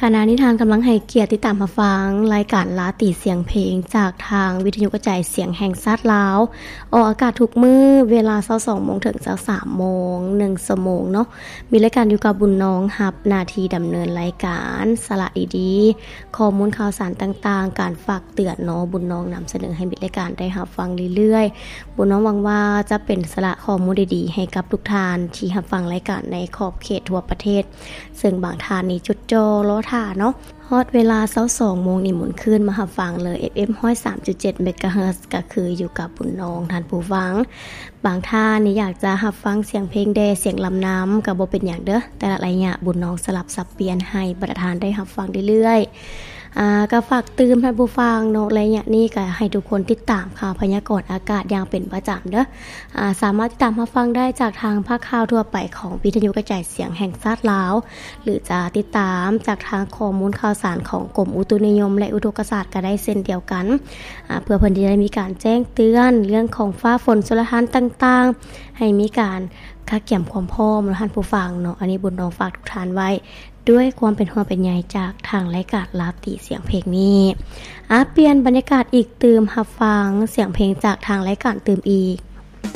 ຂະນະນີ້ທ່ານກຳລັງໃຫ້ກຽດຕິດຕາມຮັບຟັງລາຍການລາຕີສຽງເພງ ຈາກທາງວິທະຍຸກະຈາຍສຽງແຫ່ງຊາດລາວ, ອອກອາກາດທຸກມື້ເວລາຊາວສອງໂມງເຖິງຊາວສາມໂມງ ໜຶ່ງຊົ່ວໂມງເນາະ. ມີລາຍການຢູ່ກັບບຸນນອງ ຮັບໜ້າທີ່ດຳເນີນລາຍການ ສາລະດີໆ, ຂໍ້ມູນຂ່າວສານຕ່າງໆ, ການຝາກເຕືອນເນາະ, ບຸນນອງນຳສະເໜີໃຫ້ມິດລາຍການໄດ້ຮັບຟັງເລື້ອຍໆ. ບຸນນອງຫວັງວ່າຈະເປັນສາລະຂໍ້ມູນດີໆໃຫ້ກັບທຸກທ່ານທີ່ຮັບຟັງລາຍການໃນຂອບເຂດທົ່ວປະເທດ, ເຊິ່ງບາງທ່ານນີ້ຈົດຈ່ອລໍຖ້າເນາະ. ຮອດເວລາຊາວສອງໂມງນີ້ໝູນຄືນມາຮັບຟັງເລີຍ ເອັຟເອັມຮ້ອຍສາມຈຸດເຈັດເມກາເຮີດ ກໍຄືຢູ່ກັບບຸນນອງທ່ານຜູ້ຟັງ. ບາງທ່ານນີ້ຢາກຈະຮັບຟັງສຽງເພງແດ່ ສຽງລຳນຳ ກໍບໍ່ເປັນຫຍັງເດີ້, ແຕ່ລະໄລຍະບຸນນອງສະຫຼັບສັບປ່ຽນໃຫ້ບັນດາທ່ານໄດ້ຮັບຟັງເລື້ອຍໆ. ອາ ກໍຝາກຕື່ມທ່ານຜູ້ຟັງເນາະ, ໄລຍະນີ້ກໍໃຫ້ທຸກຄົນຕິດຕາມຂ່າວພະຍາກອນອາກາດຢ່າງເປັນປະຈຳເດີ້. ອາ ສາມາດຕິດຕາມຮັບຟັງໄດ້ຈາກທາງພາກຂ່າວທົ່ວໄປຂອງວິທະຍຸກະຈາຍສຽງແຫ່ງຊາດລາວ ຫຼື ຈະຕິດຕາມຈາກທາງຂໍ້ມູນຂ່າວສານຂອງກົມອຸຕຸນິຍົມ ແລະ ອຸທົກກະສາດກໍໄດ້ເຊັ່ນດຽວກັນ, ອາ ເພື່ອເພິ່ນຈະໄດ້ມີການແຈ້ງເຕືອນເລື່ອງຂອງຟ້າຝົນຊົນລະທານຕ່າງໆ, ໃຫ້ມີການກະກຽມຄວາມພ້ອມເນາະທ່ານຜູ້ຟັງເນາະ. ອັນນີ້ບຸນນອງຝາກທຸກທ່ານໄວ້ ດ້ວຍຄວາມເປັນຫ່ວງເປັນໃຍຈາກທາງລາຍການລາຕີສຽງເພງນີ້. ອາ ປ່ຽນບັນຍາກາດອີກຕື່ມ, ຮັບຟັງສຽງເພງຈາກທາງລາຍການຕື່ມອີກ.